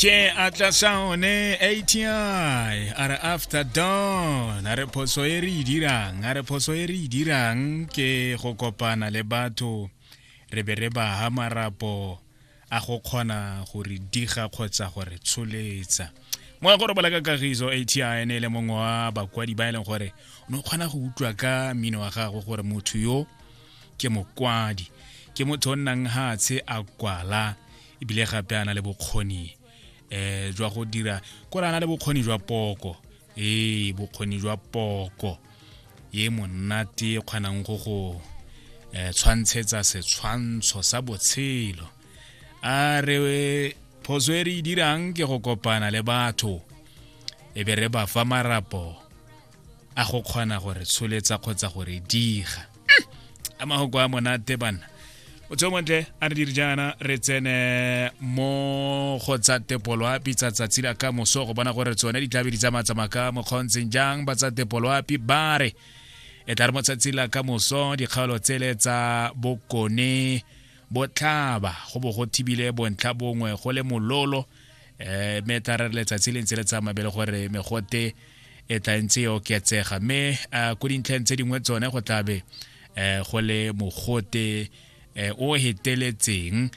Ke atla sound ATI a re after dawn, a re phoso e re e dirang, a re phoso e re e dirang ke go kopana le batho re be re ba ha marapo a go kgona go re diga kgotsa go re tsholetsa. Mo go robala ka kagiso. ATI ne e le mongwe wa bakwadi ba e leng gore o ne o kgona go utlwa ka mmino wa gagwe gore motho yo ke mokwadi, ke motho o nnang hatshe a kwala, ebile gape a na le bokgoni jwa go dira kore a na le bokgoni jwa poko, ee, bokgoni jwa poko ye monate e kgonang go go tshwantshetsa setshwantsho sa botshelo. A re phoso e re e dirang ke go kopana le batho e be re ba fa marapo a go kgona go re tsholetsa kgotsa go re diga. A mahoko a monate banna. O tse montle a re dire jaana, re tsene mo go tsa tepoloapi tsa tsatsi la ka moso go bona gore tsone di tlabe di tsamaya ka mokgontseng jang. Ba tsa tepoloapi ba re e tla re mo tsatsi la ka moso dikgaolo tsele tsa bokone botlhaba go bo go thibile bontlha bongwe go le mololo, mme tla re letsatsi le ntse le tsamaya bele gore megote e tla ntse e oketsega, mme ko dintlheng tse dingwe tsone go tlabe go le mogote o heteletseng.